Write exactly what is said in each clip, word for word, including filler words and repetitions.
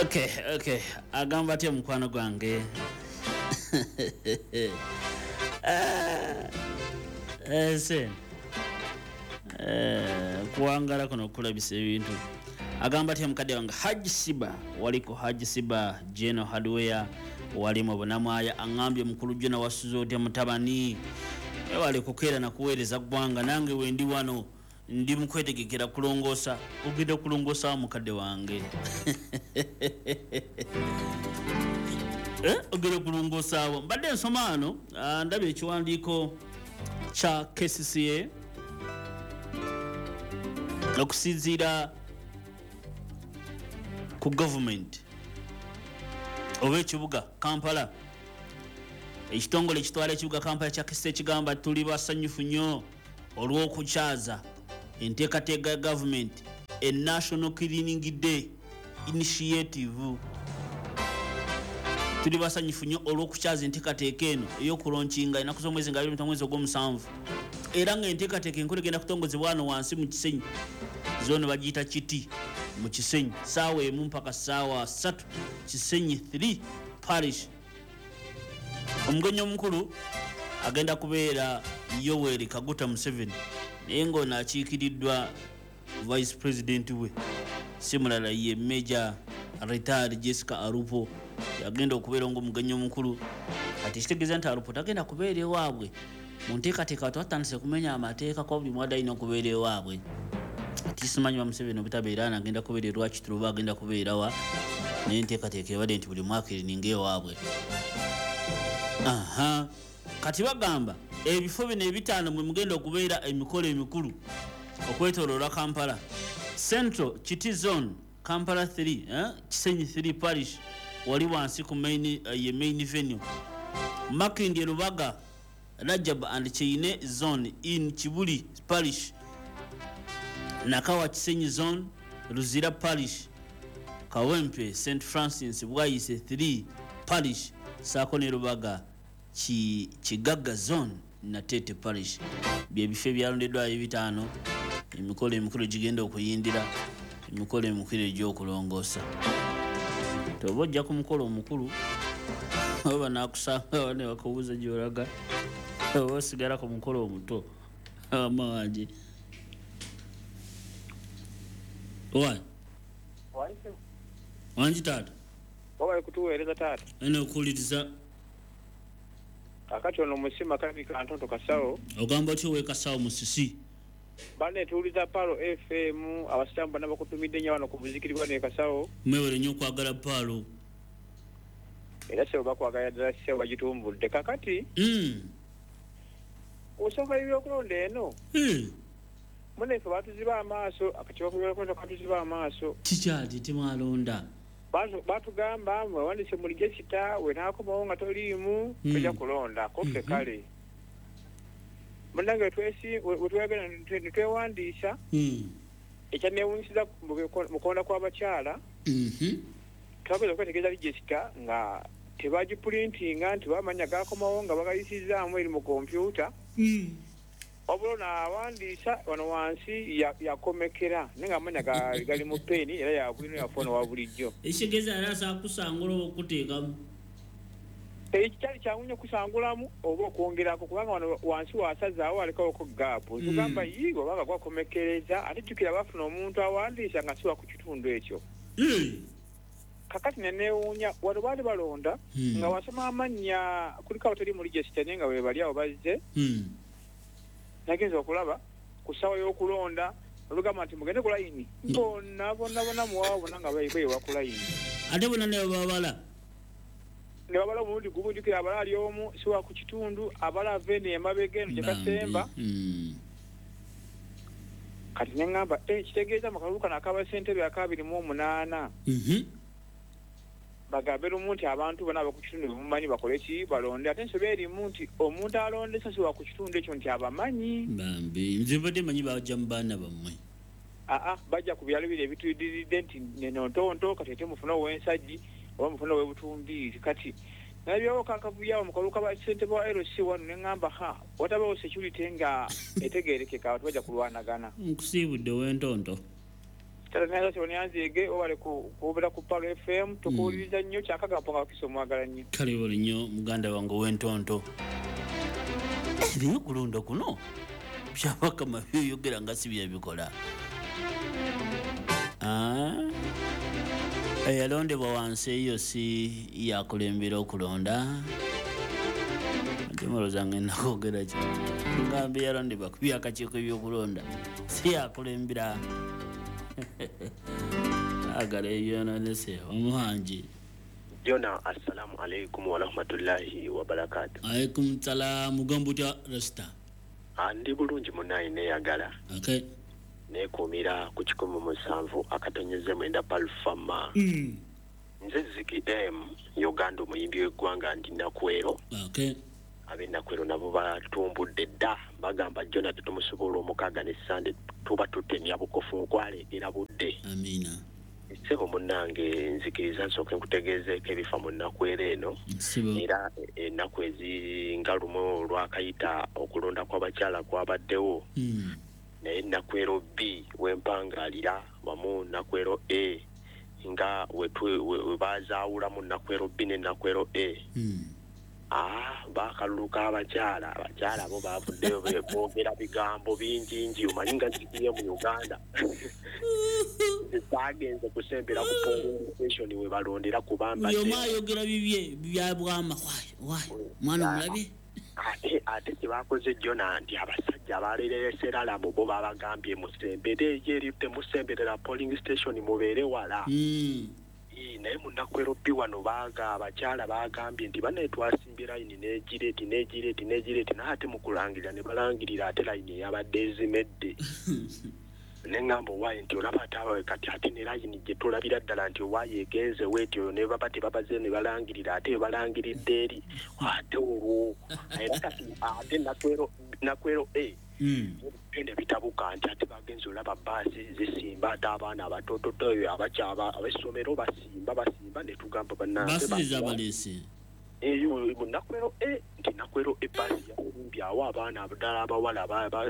Okay, okay. Agamba atya mukwano gwange? Ese kuwangala kuno okulabisa ebintu. Agamba atya mukadde wange Haji Siba, waliko Haji Siba General Hardware walimu Bunamwaya. Aŋŋambye mukulu Jona wasuze otya mutabani? Wali kukeera na kuweereza ggwanga, nange wendi wano ndi mukwetegekera kulongoosa. Ogenda kulongoosa mukadde wange? Ogenda kulongoosaawo? Mbadde nsoma wano, ndabye ekiwandiiko kya K C C A okusinziira ku gavumenti oba ekibuga Kampala. Ekitongole ekitwala ekibuga Kampala kya K C C A kigamba tuli basanyufu nnyo olw'okukyaza enteekateeka ya gavumenti e National Cleaning Day Initiative. Tuli basanyufu nnyo olw'okukyaza enteekateeka eno ey'okulonkinga ennaku z'omwezi nga abiri mu ttaano mwezi ogw'omusanvu, era ng'enteekateeka enkulu egenda kutongozebwa wano wansi mu Kisenyi, zono bagiyita Kiti mu Kisenyi, ssaawa emu mpaka ssaawa ssatu, Kisenyi three Parish. Omugenyi omukulu agenda kubeera Yoweri Kaguta Museveni, naye ng'ono akiikiriddwa Vice President we, si mulala ye Major Retired Jessica Alupo, yagenda okubeera ng'omugenyi omukulu. Kati kitegeeza nti Alupo tagenda kubeera ewaabwe mu nteekateeka, twatandise kumenya amateeka kuba buli mwadde alina okubeera ewaabwe. Kati simanyi ba Museveni obutabeera ano agenda kubeera e Rwakitula oba agenda kubeera wa, naye enteekateeka ebadde nti buli mwaka erininga ewaabwe. Aha, kati bagamba ebifo bino ebitaano mwe mugenda okubeera emikolo emikulu okwetooloola Kampala. Central Kiti Zone, Kampala three, eh? Kisenyi three Parish, wali wansi ku main, uh, ye main venue. Makindye Lubaga, Rajab and Cheine Zone in Kibuli Parish. Nakawa Kisenyi Zone, Luzira Parish. Kawempe Saint Francis Bwaise three Parish, saako ne Lubaga Ki, Kigaga Zone Natete Parish. Bye bifo ebyalondeddwayo ebitaano emikolo emikulu gigenda okuyindira, emikolo emikulu egy'okulongoosa. Toba ojja ku mukolo omukulu oba naakusanga ne bakubuuza gy'olaga, oba osigala ku mukolo omuto. Ama wange Why? Wangi taata? Wabale kutuweereza taata. Eno okuwuliriza. Kakati ono musima kabi kantonto kasawo. Ogamba otya ow'e Kasawo Musisi? Banne tuwuliza Palo F M, abasiraamu bonna bakutumidde nnyo wano ku muzikiti gwano e Kasawo. Mwewale nnyo okwagala Palo. Era ssebo bakwagala ddala ssebo bagitumbudde. Kakati Mm. ku nsonga y'ebyokulonda eno, Mm. munnaffe baatuziba amaaso, akakiiko k'ebyokulonda kaatuziba amaaso. Kikyali temwalonda? Batugamba mwewandiise mu register, we naakomawo nga toliimu, Mm. tojja kulonda, ko ffe Mhm. kale. Munnange twesi-, we, we twegenda ne twewandiisa, Mm. ekyanneewuunyisiza mu kulonda kw'abakyala, Mhm. twagenda okwetegereza register nga tebagipulintinga nti bamanya gaakomawo nga bagayisizaamu eri mu kompyuta. Mm. Wabula ono awandiisa wano wansi ya-, yakomekera, naye ng'amanya ga-, gali mu peeni era ya bwino yaffe ono wa bulijjo. Ekitegeeza yali asobola kusangula oba okuteekamu? Ekikyali kyangu nnyo okusangulamu oba okwongerako, kubanga wano wansi wasazaawo alekawoko gaapu. Mm. Tugamba yiigo oba nga gwakomekereza, ate jjukira bafuna omuntu awandiisa nga si wa ku kitundu ekyo. Mm. Kakati ne neewuunya, wano baali balonda, Mm. nga wasoma amannya kuliko abatali mu register naye nga we bali awo bazze. Mm. Nagenze okulaba ku ssaawa y'okulonda, olugamba nti mugende ku layini. Mm. Bonna, bonna, bonna muwaawo bonna nga beewa ku layini. Ate bonna ne babala? Ne babala omulundi gumu, jjukira abala ali omu, si wa ku kitundu, abala ava eno emabega eno gye Bambi. kasemba. Mm. Kati ne ŋŋamba, eh, kitegeeza mu kalulu kano akaba ssentebe ak'abiri mu omunaana. Mhm. Bagambe lumu nti abantu bonna ab'oku kitundu bemumanyi bakole ki, balonde. Ate ensobi erimu nti omuntu alondesa si wa ku kitundu ekyo nti abamanyi. Bambi, nze mbadde mmanyi bajja mu baana bammwe. Aa, bajja ku byalo biri ebitudiridde nti neno ntonto, kati ate mufune ow'ensajji oba mufune ow'ebutumbiiri. Kati nalabyewo kakavuyo awo mu kalulu ka ssentebe wa L C wano ne ŋŋamba, ha, watabeewo security nga etegeerekeka, abantu bajja kulwanagana. Nkusiibudde ow'entonto. Tata obale kubeera ku Palo F M tukuwuliriza nnyo kyakagambo nga Wakiso mwagala nnyo. Kale buli nnyo muganda wange ow'entonto. Naye okulonda kuno Byabakama by'oyogera nga si byebikola. Eyalondebwa wansi eyo si yakulembera okulonda. Ate ngenda kwogera ki? Ngambye yalondebwa ku byakakiiko ebyokulonda si yakulembera. Agala ebyononese omuhangi. Jona, assalamu alaikum wa rahmatullahi wa barakatuh. Alaikum salam. Mugamba otya Rasta? Ndi bulungi munnaye neeyagala. Okay. Neekuumira ku kikumi musanvu akatonyeze mwenda Palfama. Mm. Nze Ziki M Uganda omuyimbi w'eggwanga ndi Nakwero. Okay. Ab'e Nakwero nabo batumbudde dda bagamba Jona tetumusobola omukaaga ne Sande tuba tutemya bukofu nkwaleetera budde. Amiina. Ssebo munnange nzikiriza nsooke nkutegeezeeko ebifa mu Nakwero eno. Era ennaku ezinga lumu olwakayita okulonda kw'abakyala kwabaddewo. Mm. Naye Nakwero B wempangaalira wamu Nakwero A nga we bazaawulamu Nakwero B ne Nakwero A. Mm. Ah, bakaluluka abakyala abakyala abo bavuddeyo boogera bigambo bingi ngi omanyi nga zikiye mu Uganda. Bagenze kusembera ku polling station we balondera kubamba. Oyo ayogera bibye bya bwama wayi mwana omulabye. Ate ate kyebakoze Jona nti abasajja abaleeresera bo babagambye musembere eri temusemberera polling station mubeere wala. Mm. Naye mu Nakwero B wano baga abakyala bagambye nti bannaye twasimbye layini n'egireeti n'egireeti n'egireeti naye ate mu kulangirira ne balangirira ate layini eyabadde ezimedde. Ne ŋŋamba owaaye nti olaba ate abawe kati ate ne layini gye tulabira ddala nti owaaye egenze weetyo ne baba tebabaze ne balangirira ate balangiridde eri ate olwo era kati ate Nakwero Nakwero A byonna bitabuka nti ate bagenze olaba bbaasi zisimba ate abaana abatototo abakyaba ab'essomero basimba basimba ne tugamba bannange baasi zabaleese eyo mu Nakwero A nti Nakwero A bbaasi yalumbye awo abaana ddala abawala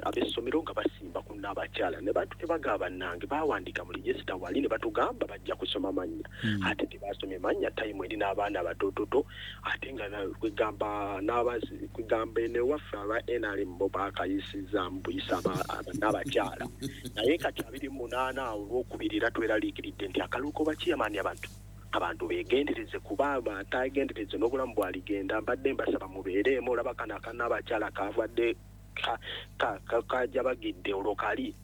ab'essomero nga basimba ku n'abakyala ne bantu tebagaba bannange bawandiika mu register wali ne batugamba bajja kusoma mannya ate tebasomye mannya time eri n'abaana abatototo ate nga kwegamba n'abazi kwegamba ene waffe aba N R M bo bakayisizza mbuyisa n'abakyala naye kati abiri munaana olwokubiri era tweraliikiridde nti akaluko bakiyamaani abantu abantu beegendereze kuba batagendereze n'obulamu bwaligenda mbadde mbasaba mubeereemu olaba kano akana abakyala kavadde kajabagidde olwo kali.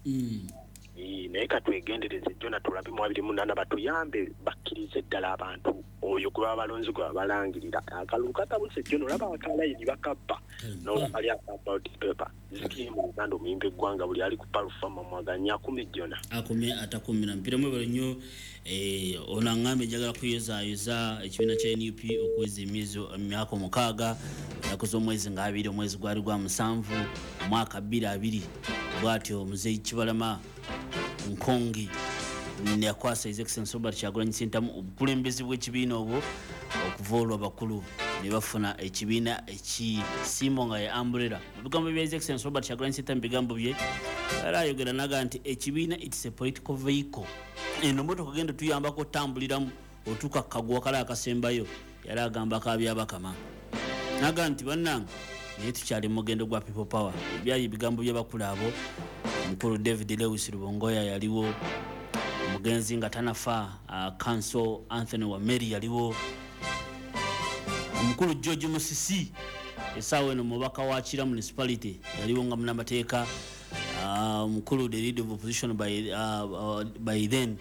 Naye katwegendereze Jona tulabe mu abiri munaana batuyambe bakkirize ddala abantu oyo gwe baba balonzi gwe babalangirira akalulu katabuse Jona olaba akalayini bakabba n'olaba kali aka ballot paper. Ziki mu Uganda omuyimbi eggwanga buli ali ku Palfama mwaganya akumi Jona akumye atakumira mpira mwebale nnyo. Eh, ono aŋŋambye njagala kuyozaayoza ekibiina kya N U P okuweza emyezi emyaka omukaaga ennaku z'omwezi nga abiri omwezi gwali gwa musanvu omwaka bbiri abiri bw'atyo Muzeeyi Kibalama Nkongi yakwasa His Excellency Robert Kyagulanyi Ssentamu obukulembeze bw'ekibiina obwo okuva olwo abakulu ne bafuna ekibiina ekisiimo nga ye umbrella. Mu bigambo bya His Excellency Robert Kyagulanyi Ssentamu bigambo bye era ayogera naga nti ekibiina it's a political vehicle. Eno motoka genda tuyambako otambuliramu otuuka kagwa kale akasembayo yali agamba Kabyabakama naga nti bannange naye tukyali mu mugendo gwa people power. Byali ebigambo by'abakulu abo. Omukulu David Lewis Rubongoya yaliwo, omugenzi nga tanafa uh, Counsel Anthony Wameri yaliwo, omukulu George Musisi essaawa eno mubaka wa Kira Municipality yaliwo nga munnamateeka, omukulu uh, the leader of opposition by, uh, uh, by then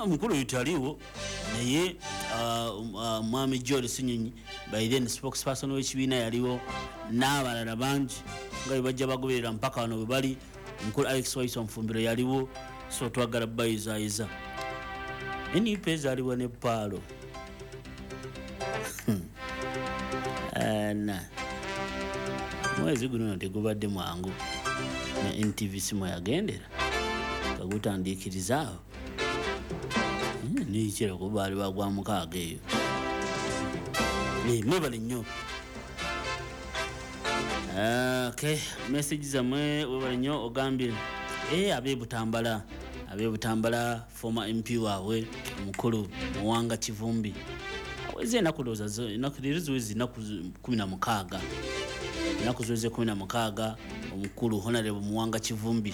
omukulu uh, yitaliwo naye mwami uh, uh, George Sinyonyi by then spokesperson w'ekibiina yaliwo n'abalala bangi nga bwe bajja bagoberera mpaka wano bwe bali. Omukulu Alex Waiso Nfumbiro yaliwo, so twagala bayizaayiza. N U P ezaalibwa ne Paalo. Na mwezi guno tegubadde mwangu ne N T V simu yagendera kagutandiikirizaawo nikira kubaali bagwa mukaaga eyo. Mwebale nnyo. Okay, message zammwe webale nnyo. Ogambye Eh abe Butambala abe Butambala former M P waabwe omukulu Muwanga Kivumbi aweze ennaku ndowooza ennaku leero ziweze ennaku kumi na mukaaga ennaku ziweze kumi na mukaaga omukulu Honorable Muwanga Kivumbi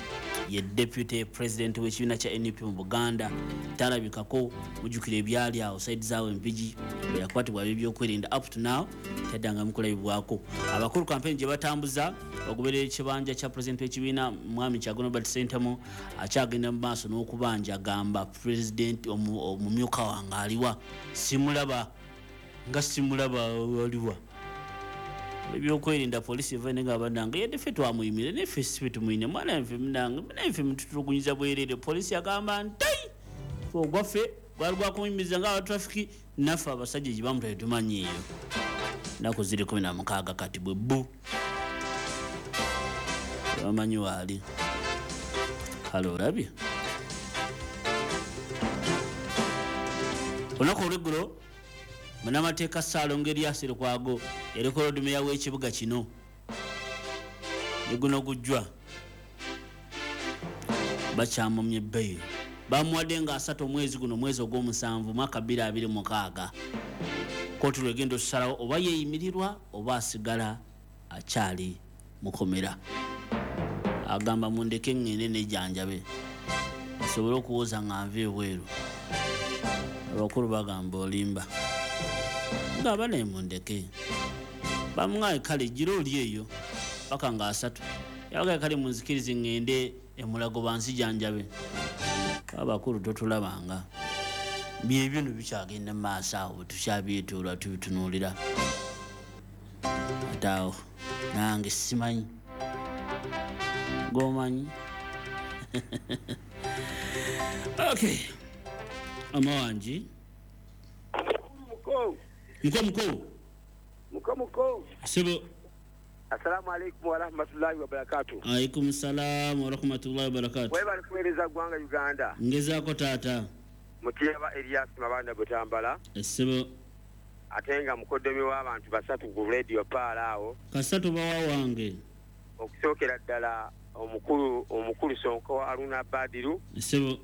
ye deputy president w'ekibiina kya N U P mu Buganda talabikako. Mujjukira ebyali awo side zaawe Mpigi bwe yakwatibwa ebyokwerinda up to now taddangamu kulabibwako. Abakulu campaign gye batambuza bagoberera ekibanja kya president w'ekibiina Mwami Kyagulanyi Robert Ssentamu akyagenda mu maaso n'okubanja agamba president omumyuka wange aliwa simulaba nga simulaba aliwa. Ebyokwerinda poliisi eva nenga abannange yadde ffe twamuyimire naye ffe si tumuyine mwana nfe munange naye ffe mututulugunyiza bwereere. Poliisi yagamba nti ffe ogwaffe gwali gwakumuyimiriza nga abatrafiki naffe abasajja gye bamutwale tumanyi eyo. Ennaku ziri kumi na mukaaga kati bwe bbu tebamanyi waali. Kale olabye olunaku olw'eggulo munnamateeka Ssaalongo Erias Lukwago yaliko Lord w'ekibuga kino ne guno gujjwa bakyamumye bbeeyi bamuwadde nga asatu omwezi guno mwezi ogw'omusanvu mwaka bbiri abiri mukaaga. Kkooti lwegenda okusalawo oba yeeyimirirwa oba asigala akyali mukomera. Agamba mundeke ŋŋende nejjanjabe asobole okuwoza nga nva ebweru. Abakulu bagamba olimba nga bane mundeke bamuŋŋaye kale gira oli eyo paka nga asatu. Yabagaye kale munzikirize ŋŋende emulago banzijanjabe. Abakulu totulabanga byebyo no bikyagenda mu maaso awo bwe tukyabyetoolwa tubitunuulira. Ate awo nange simanyi gomanyi. Okay, amawangi muko muko muko muko muko sebo. Assalamu alaikum wa rahmatullahi wa barakatuh. Alaikum salam wa rahmatullahi wa barakatuh. Webale kuweereza ggwanga Uganda. Ngezaako taata. Mutiyaba Elias Mabanda Butambala. Essebo. Ate nga mukoddomi w'abantu basatu ku radio Paala awo. Kasatu bawa wange. Okusookera ddala omukulu omukulu Sonko Haruna Badiru. Essebo.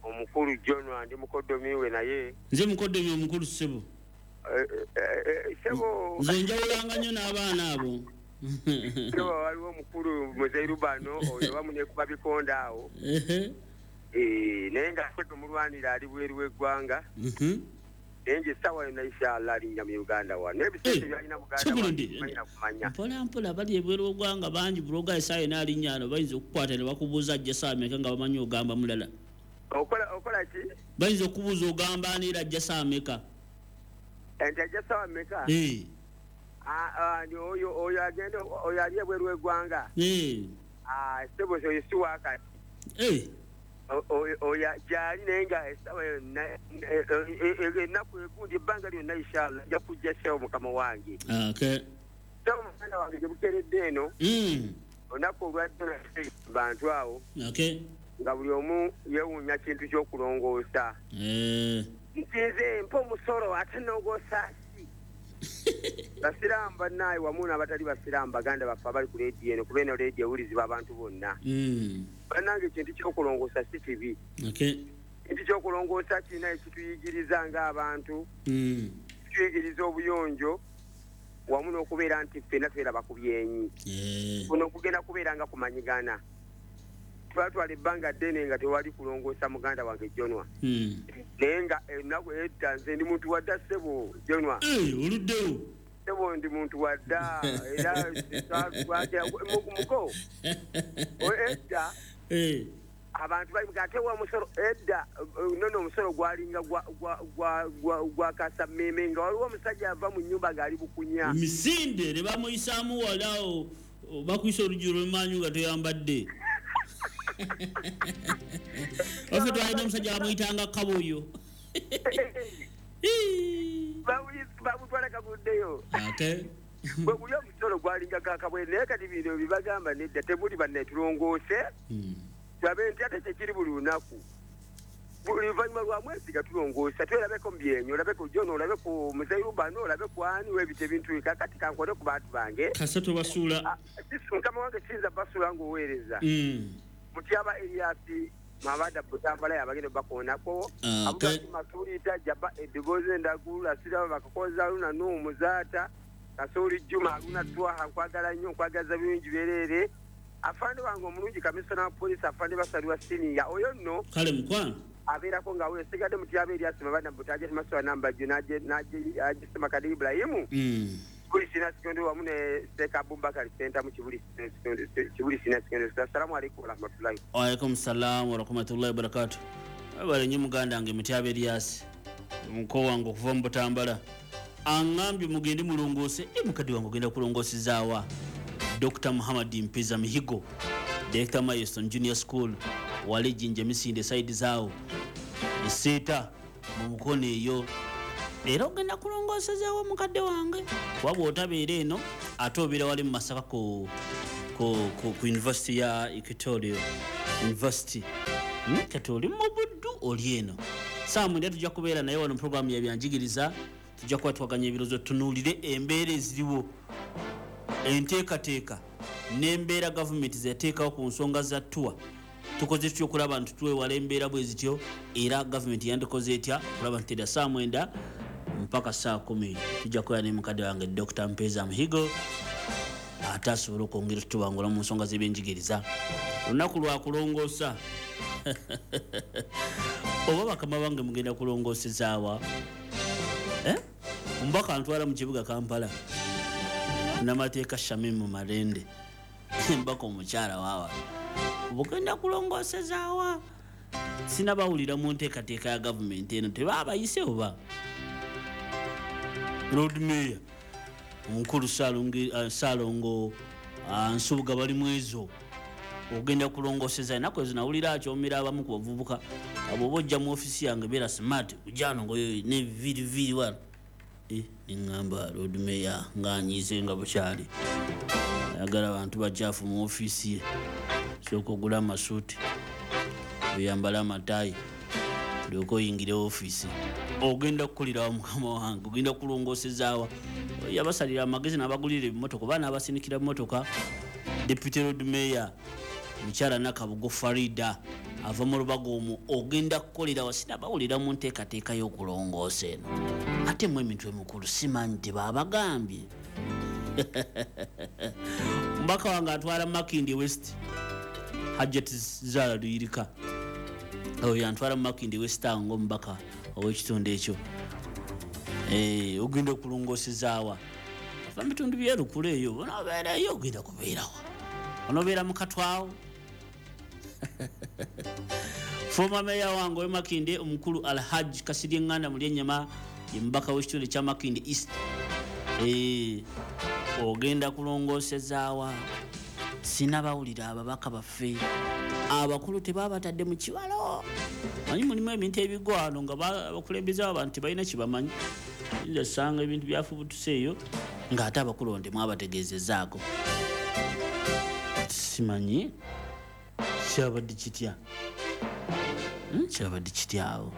Omukulu John Wandi mukoddomi we naye. Nze mukoddomi omukulu ssebo. Ssebo. Nze njawulanga nnyo n'abaana abo. Ssebo waliwo omukulu Muzeyi Rubano oyo bamunekuba bikonda awo. Eh, naye nga ffe tumulwanira ali bweru w'eggwanga. Naye nje essaawa yonna inshallah alinnya mu Uganda wano. Naye ebisente by'alina Buganda wano kumanya. Mpola mpola bali ebweru w'eggwanga bangi buloga essaawa yonna alinnya ano bayinza okukwata ne bakubuuza ajja ssaawa mmeka nga bamanyi ogamba mulala. Okola okola ki? Bayinza okubuuza ogamba ani era ajja ssaawa mmeka. Enti ajja ssaawa mmeka? Eh. Ah ah oyo oyo agenda oyo ali ebweru w'eggwanga. Eh. Ah ssebo oyo si wakati. Eh. Oyo gyali naye nga essaawa yonna ennaku egundi ebbanga lyonna inshallah ajja kujja ssebo mukama wange. Okay. Ssebo muganda wange gye bukeredde eno. Mm. Olunaku olwadde bantu awo. Okay. Nga buli omu yeewuunya kintu ky'okulongoosa. Eh. Nti nze mpa omusolo ate nnongoosa ki? Basiraamu bannaaye wamu n'abatali basiraamu baganda baffe abali ku leediyo eno kuba eno leediyo ewulizibwa abantu bonna. Mm. Bannange ekintu ky'okulongoosa si kibi. Okay. Ekintu ky'okulongoosa kirina ekituyigiriza ng'abantu. Mm. Kituyigiriza obuyonjo wamu n'okubeera nti ffenna tweraba ku byenyi. Yeah. Kuno kugenda kubeera nga kumanyigana. Twatwala ebbanga ddene nga tewali kulongoosa muganda wange Jonwa. Mm. Naye nga ennaku edda nze ndi muntu wa dda ssebo Jonwa. Eh, oluddewo. Ssebo ndi muntu wa dda era muko. Edda Eh. abantu bali ate wa musolo edda nono omusolo gwalinga gwa gwa gwa gwa kasammeme nga waliwo omusajja ava mu nnyumba ng'ali bukunya. Misinde ne bamuyisaamu wala bakuyisa oluggi lw'emmanju nga toyambadde. Waffe twalina omusajja bamuyitanga Kabuyo. Bamutwala kaguddeyo. Okay. Bwe guli omusolo gwalinga kakabwe naye kati bino bibagamba nedda temuli bannetulongoose. Tulabe nti ate tekiri buli lunaku. Buli luvannyuma lwa mwezi nga tulongoosa twerabeko mu byenyi olabe ku John olabe ku Muzeyi Rubano olabe ku ani webita ebintu kakati kankole ku bantu bange. Kasatu basuula. Mukama wange siyinza basuula ng'oweereza. Mutyaba Elias Mabanda Butambala yabagenda bakoonako. Okay. Masulita Jaba Edigoze Ndagula Siraba bakakoza Luna Nu Muzaata Kasoli Juma Luna Twaha nkwagala nnyo nkwagaza bingi byerere. Afande wange omulungi kamisona wa poliisi afande Basalirwa senior oyo nno kale mukwano abeerako nga we sigadde Mutyaba Elias Mabanda Butaje Maswa namba Junaje Naje Ajisema Kadi Ibrahimu mm. Kibuli Senior Secondary wamu ne Sheikh Abubakar Center mu Kibuli Kibuli Senior Secondary. Assalamu alaikum warahmatullahi. Wa alaikum salam wa rahmatullahi wa barakatuh. Abale nnyo muganda wange Mutyaba Elias muko wange okuva mu Butambala angambye mugende mulongoose. E mukadde wange ogenda kulongoosezaawa Doctor Muhammad Mpeza Mihigo, Director Milestone Junior School wali Jinja Misinde side zaawo eseeta mu mukono eyo. Era ogenda kulongoosezaawa mukadde wange kuba bw'otabeera eno ate obeera wali mu Masaka ku, ku, ku, ku University ya Equatorial University. Hmm? Kati oli mu Buddu oli eno. Saa mwenda tujja kubeera naye wano mu programu ya byanjigiriza, tujja kuba twaganya ebirowoozo tunuulire embeera eziriwo, enteekateeka n'embeera gavumenti zeyateekawo ku nsonga za ttuwa. Tukoze tutya okulaba nti twewala embeera bwe zityo, era gavumenti yandikoze etya okulaba nti era saa mwenda mpaka saa kumi tujja kubeera ne mukadde wange Doctor Mpeza Mihigo ate asobole okwongera tutubangula mu nsonga z'ebyenjigiriza. Olunaku lwa kulongoosa. Oba bakama bange mugenda kulongoosezaawa? Eh? Omubaka antwala mu kibuga Kampala namateeka Shamimu Malende mbaka omukyala waawa bugenda kulongoosezaawa? Sinabawulira mu nteekateeka ya gavumenti eno tebaabayise oba Lord Mayor omukulu Ssalongo Nsubuga bali mwezo ogenda kulongooseza. Ennaku ezo nawulira akyomera abamu ku bavubuka abo oba ojja mu ofiisi yange beera smart ojjano ngoyo ne viiriviri wano. Eh, neŋŋamba Lord Mayor ng'anyiize nga bukyali ayagala abantu bajjafu mu ofiisi ye, sooka ogule amasuuti oyambale amataayi olyoke oyingire ofiisi. Ogenda kukulirawo mukama wange, ogenda kulongoosezaawa? Yabasalira amagezi n'abagulira ebimotoka oba n'abasinikira emmotoka. Deputy Lord Mayor mukyala Nakabugo Farida ava mu Lubaga omwo, ogenda kukolerawa? Sinabawulira mu nteekateeka y'okulongoosa eno. Ate mu emitwe emikulu simanyi tebaabagambye. Omubaka wange atwala Makindye West Hajjat Zara Luyirika oyo yantwala mu Makindye West awo ng'omubaka ow'ekitundu ekyo. Eh, ogenda okulongoosezaawa? Ava mu bitundu by'e Lukula eyo onoobeerayo ogenda kubeerawa? Onoobeera mu Katwawo? Former mayor wange ow'e Makindye omukulu Alhaj Kasirye Nganda Mulyennyama ye mubaka w'ekitundu ekya Makindye East. Eh, ogenda kulongoosezaawa? Sinabawulira ababaka baffe abakulu tebabatadde mu kibalo. Manyi mulimu ebintu ebigwano nga abakulembeze b'abantu tebalina kye bamanyi. Oyinza osanga ebintu byafubutuse eyo ng'ate abakulu temwabategeezezzaako. Simanyi kyabadde kitya, kyabadde kitya awo.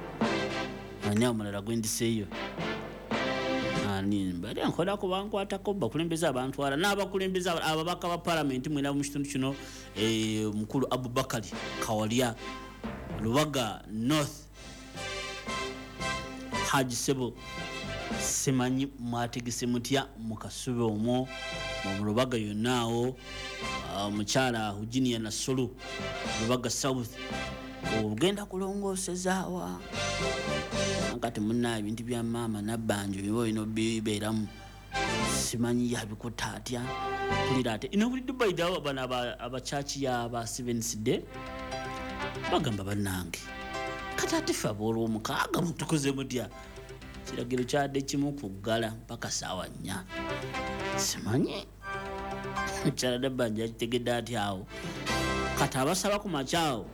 Ani omulala gwe ndiseeyo? Ani mbadde nkolako bankwatako bakulembeze abantwala n'abakulembeze ababaka ba palamenti mwena mu kitundu kino, omukulu Abubakari Kawalya Lubaga North Haji Sebo, simanyi mwategese mutya mu Kasubi omwo mu Lubaga yonna awo. Omukyala Hujinia Nassolo Lubaga South ogenda kulongoosezaawa? Kati munna ebintu bya maama Nabbanja oba olina obibeeramu, simanyi yabikutte atya. Mpulira ate ino buli Dubai dawo bano abakyaki y'aba Seventh Day bagamba bannange kati ate ffe aboolwomukaaga mutukoze mutya? Kiragiro kyadde kimu kuggala mpaka ssaawa nnya. Simanyi mukyala Nabbanja yakitegedde atya awo. Kati abasaba ku makya awo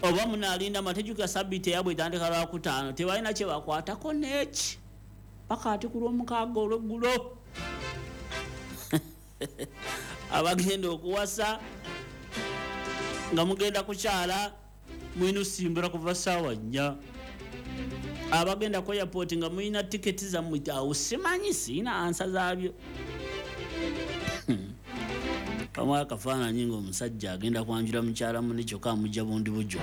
oba munaalinda amatejjuka sabbiiti eyabwe etandika Lwakutaano tebalina kye bakwatako n'eki paka ate ku lwomukaaga olweggulo. Abagenda okuwasa nga mugenda kukyala mulina osimbula kuva ssaawa nnya. Abagenda ku airport nga mulina tiketi zammwe awo simanyi siina ansa zaabyo. Bamuwa akafaananyi ng'omusajja agenda kwanjula mukyala munne kyokka amujja bundi bujjo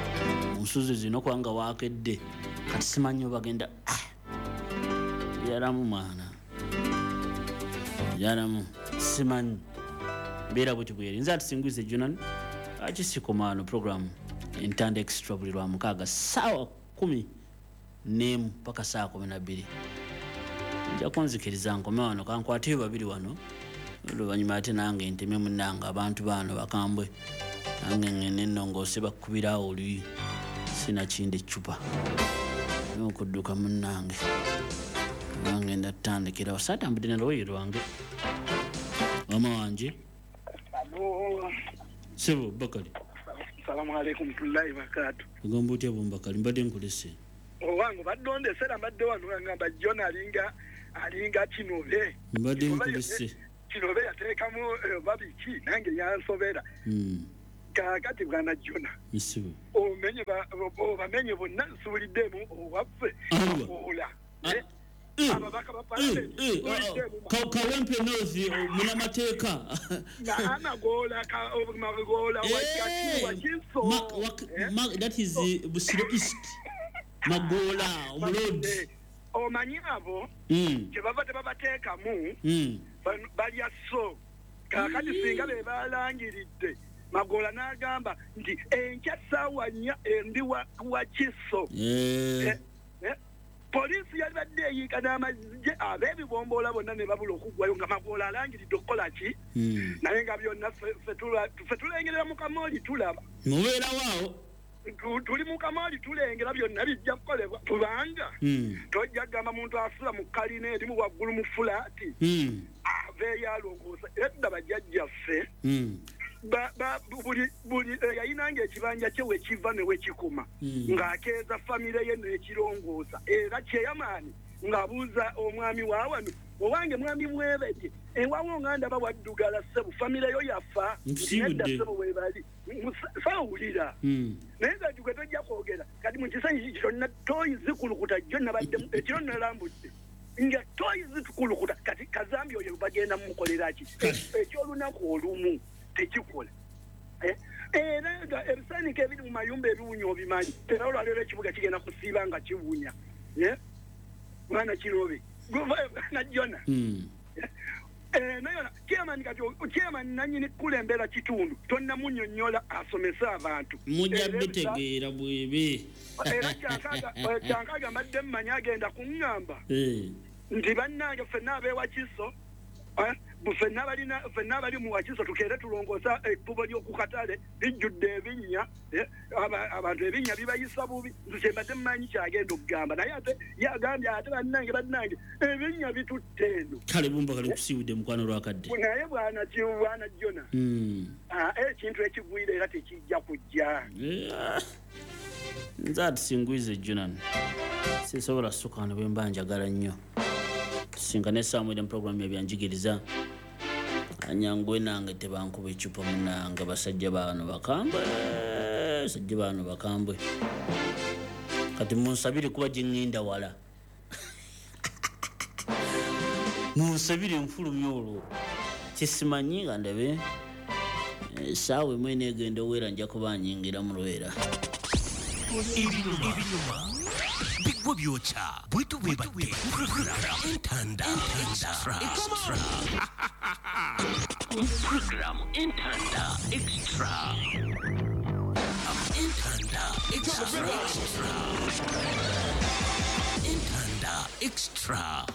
mu nsuzi zino kubanga waakedde. Kati simanyi oba bagenda yalamu mwana yalamu simanyi mbeera bweti bweri. Nze atusinguize Jonan akisikomaano program Entanda Extra buli lwa mukaaga ssaawa kumi n'emu paka ssaawa kumi na bbiri. Nja kunzikiriza nkome wano kankwateyo babiri wano oluvannyuma ate nange nteme munnange abantu baano bakambwe nange ngende ennongoose bakkubirawo oluyi sinakindi eccupa n'okudduka munnange nange ngenda tutandikirawo saatambudde na lugoye lwange. Wama wanje sebo Bakali. Salamu alaikum warahmatullahi wabarakatuh. Ogamba otya Bumbakali mbadde nkulese. Owange badde ondesera mbadde wano ngamba John alinga alinga kinobe. Mbadde nkulese. Kinobe yateekamu babiki nange yansobera. Mm. Kaakati bwana John. Misibu. Omenye ba obamenye bonna nsubuliddemu owaffe. Ola. Ababaka ba parliament. Kawempe North munamateeka. Na Magola ka Magola wa Kiso. That is Busiro East. Magola omulodi. Omanyi abo kyebava tebabateekamu balya so. Kaakati singa be balangiridde Magola n'agamba nti enkya ssaawa nnya endi wa Kiso. Poliisi yalibadde eyiika n'amagye ab'ebibomboola bonna ne babula okuggwayo nga Magola alangiridde okukola ki? Naye nga byonna ffe tulengerera mu kamooli tulaba. Mubeerawo awo? Tuli mu kamooli tulengera byonna bijja kukolebwa kubanga tojja kugamba muntu asula mu kalina erimu waggulu mu fulaati aveeyo alongoosa. Edda bajjajjaffe buli buli yayinanga ekibanja kye wekiva ne wekikoma ng'akeeza famire ye n'ekirongoosa era kyeyamaani ng'abuuza omwami wa wano owange mwami Mwebete ewawo nga ndaba waddugala ssebo famire yo yafa nedda ssebo weebali sawulira naye nga gwe tojja kwogera kati mu kisenyi kyonna toyi zikulukuta jjo nabaddemu ekiro nalambudde nga toyi zikulukuta kati kazambi oyo bagenda mumukolera ki ekyolunaku olumu tekikola. Era nga ebisaaniko ebiri mu mayumba ebiwunya obimanyi era olwaleero ekibuga kigenda kusiiba nga kiwunya. Mwana Kirobe na Jona naye chairman kati chairman nannyini kulembera kitundu tonnamunnyonnyola asomese abantu mujja bitegeera bwebe. Era kyankaga mbadde mmanyi agenda kuŋŋamba nti bannange ffenna ab'ewa Kiso ffenna balina ffenna bali mu Wakiso tukeere tulongoosa ekkubo ly'okukatale lijjudde ebinnya abantu ebinnya bibayisa bubi nze kyembadde mmanyi kyagenda okugamba naye ate yagambye ate bannange bannange ebinnya bitutte eno. Kale Bumbakali nkusiibudde mukwano lwakadde. Naye bwana bwana Jona ekintu ekigwire era tekijja kujja. Nze atusinguize Jonan sisobola ssuka wano bwe mba njagala nnyo. Tusinkane essaawa emu programu ebyanjigiriza anyanguwe nange tebankuba eccupa munnange basajja baano bakambwe basajja baano bakambwe kati munsabire kuba gye ŋŋenda wala munsabire nfulumye olwo kisimanyi nga ndabe essaawa emu eneegenda oweera nja kuba nyingira mu lwera. Ebinyuma bigwa byokya bwetu bwebadde Entanda Extra Program Entanda Extra Entanda Extra Entanda Extra.